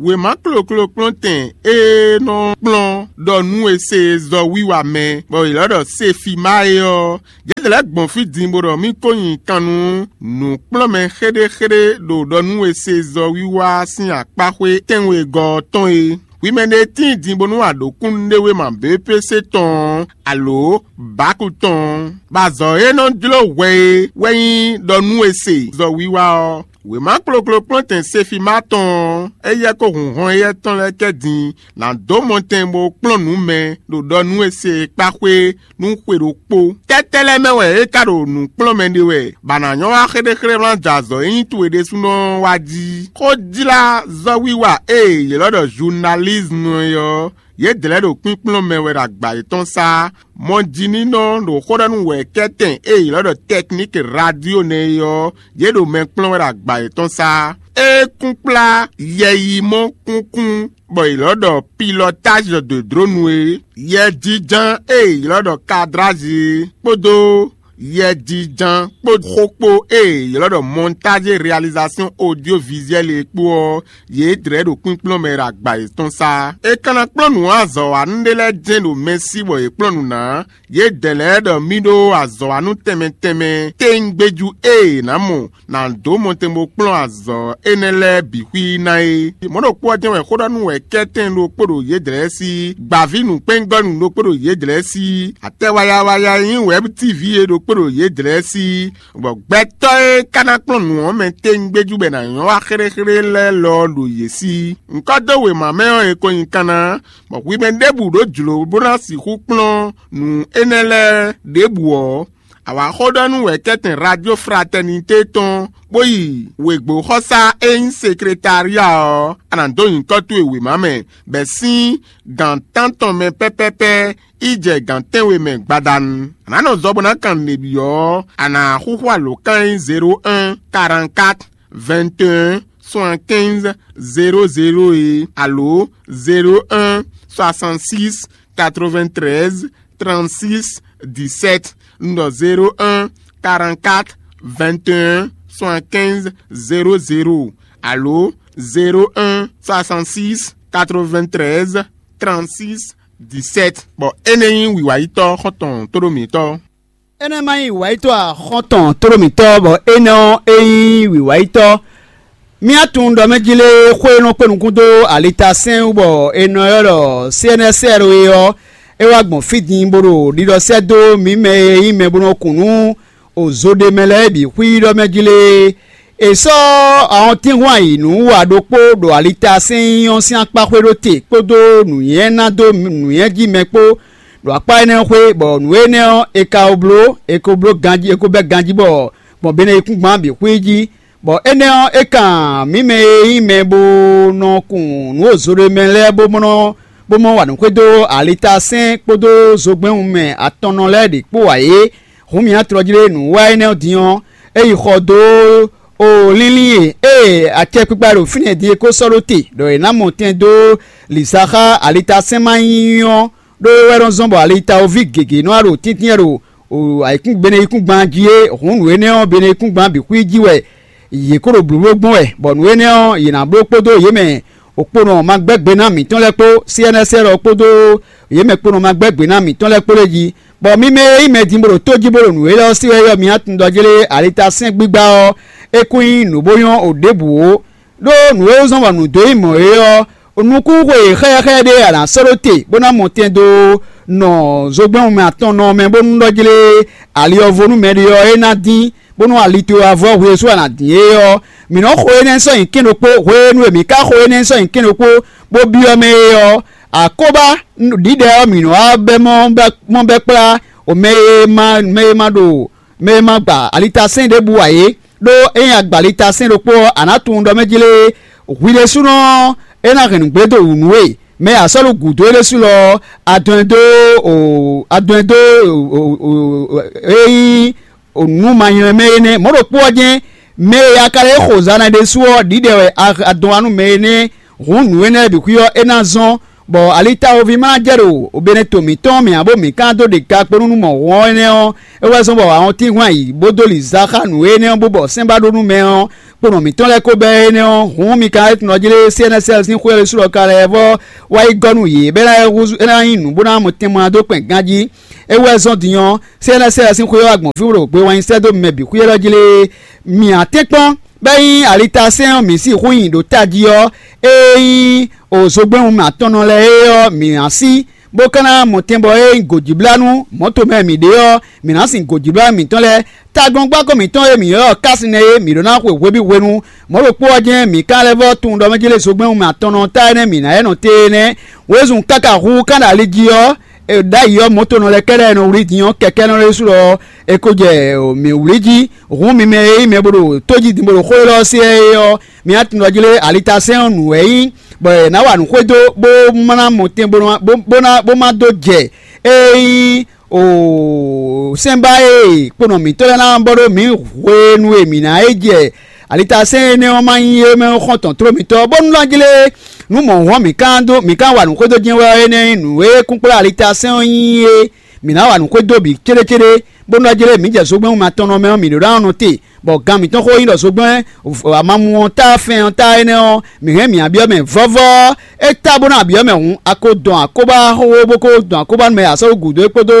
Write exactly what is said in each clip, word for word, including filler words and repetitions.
Wěma kloklo kplɔ́ntɛn e nɔ kplɔ́n ɖɔ nú è se zɔ wiwa mɛ, bɔ è lɔ́ ɖɔ Sefima é ɔ́, yě lɛ́ gbɔn fí din bó ɖɔ mì ko nyi kan nú nǔkplɔ́nmɛ xéɖéxéɖé ɖo ɖɔ nú è se zɔ wiwa sín akpáxwé tɛ́nwegɔ́ ɔ́ tɔn é. Hwi mɛ ɖé tíin din bónú a ɖǒ kúnnuɖewéma B P C tɔn ɔ́, alǒ bǎku tɔn ɔ́, bɔ azɔ̌ e nɔ jló hwɛ é wɛ nyí ɖɔ nú è se zɔ wiwa ɔ́. Wěma kloklo kplɔ́ntɛn Sefima tɔn ɔ́, éyɛ́ kó hun hɔn éyɛ́ tɔn lɛ́ɛ kɛ din ná dó mɔtɛn bó kplɔ́n nǔ mɛ ɖo ɖɔ nú è se e kpá xwé nú xwe ɖokpó. Tɛ́tɛ́ lɛ́ɛ mɛ wɛ é ka ɖo nǔ kplɔ́n mɛ ɖe wɛ, bɔ a nǎ nyɔ́ wá xéɖéxéɖé wlán jɛ azɔ̌ e nyí towe ɖésúnɔ ɔ́ wá jí. Xójlázɔ́wiwa e yě lɔ́ ɖɔ zunalízmu é ɔ́, yědɛɛ lɛ́ɛ ɖo kpínkplɔ́n mɛ wɛ ɖo agba yětɔn sá. Mɔjininɔ ɖo xó ɖɔ nú wɛ̌kɛ́tɛn e yě lɔ́ ɖɔ tɛkníki radio nɛ́ é ɔ́, yě ɖo mɛ kplɔ́n wɛ ɖo agba yětɔn sá. É kún kplá yɛyimɔ kúnkún bɔ è lɔ́ ɖɔ pilɔtázi de dronu é, yɛjínján e è lɔ́ ɖɔ kadrázi é, kpódó yɛjínján kpó xókpó e è lɔ́ ɖɔ montage réalisation audiovisuelle é kpó ɔ́, yě dlɛ̌ ɖo kpínkplɔ́n mɛ ɖo agba yětɔn sá. È ka ná kplɔ́n nǔ azɔ̌wanú ɖé lɛ́ɛ jɛ́n ɖo mɛ sí bɔ yě kplɔ́n nǔ ná. Yědɛɛ lɛ́ɛ ɖɔ mì ɖó azɔ̌wanú tɛnmɛ tɛnmɛ téńgbéjú e è nǎ mɔ ná dó mɔtɛn bó kplɔ́n azɔ̌ énɛ́ lɛ́ɛ bǐ xwí ná é. Mɔ̌ ɖokpó ɔ́ jɛ́n wɛ xó ɖɔ nú wɛ̌kɛ́tɛn ɖokpó ɖo yědɛɛ sí, gbǎví nǔkpɛ́ngɔ́nú ɖokpó ɖo yědɛɛ sí, atɛ wayawaya e nyí wɛ̌b tívi é ɖokpó ɖo yědɛɛ sí, bɔ gbɛtɔ́ e ka ná kplɔ́n nǔ ɔ́ mɛ téńgbéjú bɔ è nǎ nyɔ́ wá xéɖéxéɖé lɛ́ɛ lɔ ɔ́ ɖo yě sí. Ŋkɔ́ dó wěma mɛ ɔ́, è ko nyi kanna, bɔ hwi mɛ ɖěbǔ ɖó jlǒ bó ná sixú kplɔ́n nǔ énɛ́ lɛ́ɛ ɖěbǔ ɔ́, a wǎ xó ɖɔ nú wɛ̌kɛ́tɛn Radio Fraternité tɔn, bó yi wěgbóxɔsá e nyí sekretária ɔ́, a nǎ dó nyǐkɔ towe wěma mɛ, bɛ̌ sín gǎn tántɔn mɛ pɛ́pɛ́pɛ́ yi jɛ gǎn tɛ́nwe mɛ gbadanu. A nǎ nɔ zɔ bó ná kan nǔɖé byɔ́ ɔ́, a nǎ xúxú alǒkan e nyí zéro un, quarante-quatre, vingt et un, soixante-quinze, zéro zéro é, alo zéro un, soixante-six, quatre-vingt-treize, trente-six, dix-sept, un ɖɔ zéro un, quarante-quatre, vingt et un, soixante-quinze, zéro zéro, alo zéro un, soixante-six, quatre-vingt-treize, trente-six, dix-sept. Bɔ énɛ́ nyí wǐwáyítɔ́ xɔ́ntɔn tóɖó mǐtɔn. Énɛ́ ma nyí wǎyítɔ́ axɔ́ntɔn tlóló mǐtɔn, bɔ énɛ́ ɔ́, é nyí wǐwáyítɔ́. Mì tunwun ɖɔ mɛ jí lé xó e nɔ kpé nukún dó alitasɛ́n wú bɔ è nɔ ylɔ́ ɖɔ C N S R é ɔ́, é wá gbɔn fí din bó ɖo ɖiɖɔ sɛ́ dó mǐ mɛ e nyí mɛ bó nɔ kun nú ozo ɖe mɛ lɛ́ɛ bǐ xwíɖɔ mɛ jí lé. È sɔ́ ahɔntínhwan yi nǔ wa ɖokpó ɖo alitasɛ́n ɔ́ sín akpá xwé ɖó te kpódó nǔnywɛ́ ná dó nǔnywɛ́ jí mɛ kpó ɖo akpá énɛ́ xwé, bɔ nǔ énɛ́ ɔ́, è ka ko bló, è ko bló ganjí, è ko bɛ́ ganjí bɔ gbɔn beneyíkúngban bǐ xwé jí. Bɔ énɛ́ ɔ́, é kan mǐ mɛ e nyí mɛ bó nɔ kun nǔ ozo ɖé mɛ lɛ́ɛ bó mɔ bó mɔ wa nǔ xwedó alitasɛ́n kpódó zogbɛ́nwun mɛ atɔnnɔ lɛ́ɛ ɖě kpó ǎ é. Hǔn mǐ ná tlɔjí ɖé nǔ wa énɛ́ ɔ́ din ɔ́, é yi xɔ dó o línlín e ée acɛkpikpa ɖo fínɛ́ din é ko sɔ́ ɖó te, ɖɔ è nǎ mɔ tɛn dó lǐza xá alitasɛ́n ma nyí ɔ́, ɖó é wɛ nɔ zɔ́n bɔ alitawoví gěgé nɔ wá ɖo tíntín ɖo ayǐkúngban jí é. Hǔn nǔ énɛ́ ɔ́, beneyíkúngban bǐ xwí jí wɛ yě kó ɖo blǒbló gbɔn wɛ, bɔ nǔ énɛ́ ɔ́, yě ná bló kpódó yě mɛ òkponɔ ma gbɛ́ gbe ná mǐtɔn lɛ́ɛ kpó, C N S R ɔ́ kpódó yě mɛ kponɔ ma gbɛ́ gbe ná mǐtɔn lɛ́ɛ kpó lɛ́ɛ jí. Bɔ mi mɛ e nyí mɛ din bó ɖo tó jí bó ɖo nǔ élɔ́ ɔ́ sí wɛ é ɔ́, mi ná tunwun ɖɔ jlé alitasɛ́n gbígbá ɔ́, é kún nyí nǔ bó nyɔ́ o ɖěbǔ ó. Ɖó nǔ e zɔ́n bɔ nǔ dó nyí mɔ̌ é ɔ́, nukúnxwe xɛ́xɛ́ ɖé a nǎ sɔ́ ɖó te bó ná mɔ tɛn dó nɔ zogbɛ́n mɛ atɔnnɔ mɛ bónú ɖɔ jlé ali ɔ́ vo nú mɛɖé ɔ́ é ná dín, bónú ali towe wá vɔ́ hwe sú a nǎ dín é ɔ́, mǐ nɔ́ xo énɛ́ sɔ́ nyi kɛ́n ɖokpó. Hwenu e mǐ ka xo énɛ́ sɔ́ nyi kɛ́n ɖokpó bó byɔ́ mɛ é ɔ́, akóbá ɖiɖɛ ɔ́ mǐ nɔ́ wá bɛ́ mɔ bɛ́ mɔ bɛ́ kplá o mɛ e ma mɛ e ma ɖo mɛ e ma gba alitasɛ́n ɖěbǔ ǎ é. Ɖó ényí a gba alitasɛ́n ɖokpó ɔ́, a nǎ tunwun ɖɔ mɛ jlé hwi ɖésúnɔ ɔ́, é ná hɛn nǔgbé dó wǔ nú we. Mɛ e a sɔ́ ɖo gǔdo é ɖésú lɔ ɔ́, a dɔn ɛ dó o a dɔn ɛ dó o e nyí nǔ ma nylɛ́ mɛ énɛ́. Mɔ̌ ɖokpó ɔ́ jɛ́n, mɛ e a ka lɛ́ xo zan ná ɖésú ɔ́, ɖiɖɛ wɛ a dɔn wá nú mɛ énɛ́. Hǔn nǔ énɛ́ bǐ xwí ɔ́, é ná zɔ́n, bɔ alitawoví ma ná jɛ ɖo obɛ́nɛto mǐtɔn mɛ ǎ, bó mǐ ka dó ɖe ga kpó nú mɔ̌hun ɔ́ énɛ́ ɔ́, é wɛ zɔ́n bɔ ahɔntínhwan yi bó dó lǐza xá nǔ énɛ́ ɔ́, bó bɔ sɛ́n ba ɖó nú mɛ ɔ́, kponɔ mǐtɔn lɛ́ɛ ko bɛ́ énɛ́ ɔ́, hǔn mi ka tunɔ jí lé C N S L sín xwé ɔ́ ɖésú ɖɔ ka lɛ́ vɔ́ wá yi gɔ́ nú yě bɔ é ná húzú é ná nyí nǔ bó ná mɔ tɛnmɔ ná dó kpɛn ganjí. É wú wɛ zɔ́n din ɔ́, C N S L sín xwé ɔ́ wá gbɔn fí bó ɖo gbe wɛn nyi sɛ́ dó mɛ bǐ xwí élɔ́ jí lé. Mǐ ǎ tɛ́nkpɔ́n bɔ é nyí alitásɛ́n ɔ́ mǐ sixú nyi ɖo tají ɔ́, é nyí òzogbɛ́nwun atɔnnɔ lɛ́ɛ é ɔ́, mǐ ná sí, bó ka ná mɔ tɛn bɔ é nyí gǒjíblánú mɔ̌to mɛ mǐ ɖe ɔ́, mǐ ná sin gǒjíblánú mǐtɔn lɛ́ɛ. Taglɔ́ngbákɔ mǐtɔn e mǐ ylɔ́ ɔ́ ká sin nɛ́ é, mǐ ɖó ná xwe hweví hwenu. Mɔ̌ ɖokpó ɔ́ jɛ́n mǐ ka lɛ́ vɔ́ tunwun ɖɔ mɛ jí lě zogbɛ́nwun mɛ atɔnnɔ ɔ́ ta énɛ́ mǐ ná yɛ nɔ té énɛ́. Wězun káká hu ká ɖo ali jí ɔ́, ɖ'ayǐ ɔ́, mɔ̌tonɔ lɛ́ɛ kɛ́ɖɛ́ nɔ wlí din ɔ́, kɛkɛ́nɔ ɖésú ɔ́, è ko jɛ mǐ wlí jí. Hǔn mi mɛ e nyí mɛ bó ɖo tó jí din bó ɖo xó élɔ́ ɔ́ se é ɔ́, mi ná tunwun ɖɔ jí lé alitasɛ́n ɔ́ nǔ wɛ é nyí, bɔ è nǎ wa nǔ xwedó bó má ná mɔ tɛn bó ná bó bó ná bó má dó jɛ é nyí o sɛ́nbá e kponɔ mǐtɔn lɛ́ɛ ná bɔ ɖó mǐ hwenu e mǐ ná é jɛ alitasɛ́n énɛ́ ɔ́ má nyí é mɛ xɔ́ntɔn tló mitɔ́, bónú ná jlé nú mɔ̌ hɔn mǐ ka dó mǐ ka wa nǔ xwedó jɛ́n wɛ ɔ́, énɛ́ nyí nǔ e kúnkplá alitasɛ́n ɔ́ nyí é. Mǐ ná wa nǔ xwedó bǐ céɖécéɖé, bónú ná jlé mǐ jɛ zogbɛ́n wunma tɔn nɔ mɛ ɔ́, mǐ ɖó ná nɔ te, bɔ gan mǐtɔn xó nyí ɖɔ zogbɛ́n amamu ɔ́ ta fɛn ɔ́ ta énɛ́ ɔ́, mǐ hɛn mǐ abyɔ́ mɛ vɔ́vɔ́. É ta bó ná abyɔ́ mɛ hǔn, a ko dɔn akóbá xóxó bó ko dɔn akóbá nú mɛ e a sɔ́ ɖó gǔdo é kpódó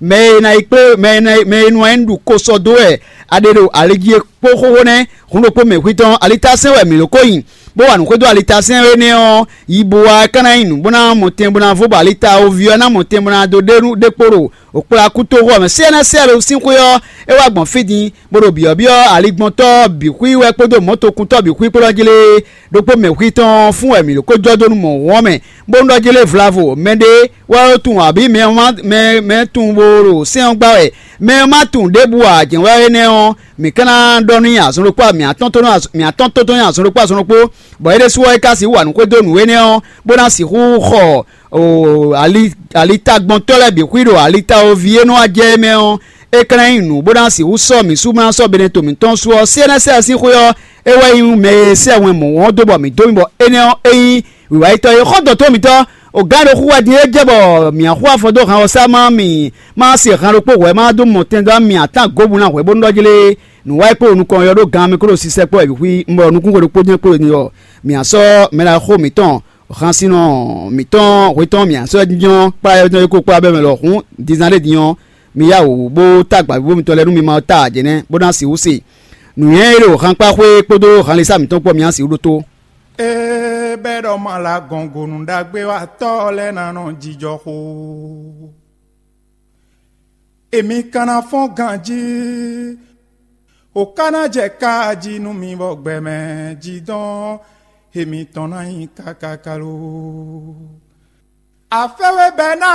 mɛ e ná yi kplé mɛ e ná yi mɛ e nɔ nyí ɖu ko sɔ́ dó wɛ a ɖe ɖo ali jí é kpó xóxó nɛ́. Hun ɖokpó mɛ xwítɔn alitasɛ́n wɛ mǐ ɖo ko nyi, bó wa nǔ xwedó alitasɛ́n énɛ́ ɔ́, yi bo wá é ka ná nyí nǔ bó ná mɔ tɛn bó ná vo bɔ alita oví ɔ́ ná mɔ tɛn bó ná dó ɖe nú ɖé kpó ɖo òkplá kútóxo ɔ́ mɛ. Sɛ́nɛsɛ́lu sín xwé ɔ́, é wá gbɔn fí din, bó ɖo byɔ̌byɔ́ aligbɔntɔ́ bǐ xwí wɛ kpódó mɔ̌tokuntɔ́ bǐ xwí kpó lɔ́ jlé. Ɖokpó mɛ xwítɔn ɔ́ fún wɛ mǐ ɖo kó jɔ dó nú mɔ̌ wɔn mɛ, bónú ɖɔ jlé vlavo mɛɖé wɛ ó tunwun abǐ mɛ ɔ́ má mɛ mɛ tunwun bó ɖo sɛ́n ɔ́ gbá wɛ, mɛ ɔ́ má tunwun ɖěbǔ ǎ. Jɛ̌n wɛ énɛ́ ɔ́, mǐ ka ná ɖɔ n'i azɔn ɖokpó mǐ atɔ́n tó nú mǐ atɔ́n tó tó nyi azɔn ɖokpó azɔn ɖokpó, bɔ é ɖésú ɔ́ é ka sixú wa nǔ xwedó nǔ énɛ́ ɔ́, bó ná sixú xɔ o ali alitagbɔntɔ́ lɛ́ɛ bǐ xwí ɖo alitawoví e nɔ wá jɛ é mɛ ɔ́, é ka ná nyí nǔ bó ná sixú sɔ́ mǐ sú bó ná sɔ́ Benɛto mǐtɔn sú ɔ́, C N S L sín xwé ɔ́, é wɛ nyí mɛ e sɛ́ wɛn mɔ̌ wɔn dó bɔ mǐ dó mì bɔ énɛ́ ɔ́ é nyí wǐwáyitɔ́ e xɔ́ntɔn tó mǐtɔn. O gǎn ɖo xú wɛ din é jɛ bɔ mǐ axú afɔ dó han ɔ́ sá má mì má se han ɖokpó hwɛ̌ má dó mɔ tɛn dó mì atán gǒbǔ ná hwɛ̌ bónú ɖɔ jlé nǔ wá yi kpó nukɔn ɔ́ ɖó gan mɛ kó ɖo sisɛ kpó wɛ bǐ xwí un bɔ nukúnxwe ɖokpó jɛ́n kpó ɖo din ɔ́, mǐ á sɔ́ mɛ ɖaxó mǐtɔn, hansínɔ mǐtɔn hwetɔ́n mǐ á sɔ́ jínjɔ́n kplá yɔ́yɔ́ é kó kplá bɛ́ mɛ lɔ̌hún dízán ɖé din ɔ́, mi yá wǔ bó tá gbǎvíbó mitɔn lɛ́ɛ nú mi ma ta ǎ jɛnɛ́ bó ná sixú se. Nǔnywɛ́ e ɖo hankpáxwé kpódó hanlísá mǐtɔn kpó mi ná sixú ɖótó. Ée bɛ́ ɖɔ ma la gɔn gonu ɖagbe wa tɔ́ lɛ́ɛ ná nɔ jijɔ xo. Èmi ka ná fɔ́n ganjí, o ka ná jɛ ká jí nú mi bɔ gbɛmɛ jí dɔn, èmi tɔn ná nyí kákáká lo. Afɛ́wé bɛ́ ná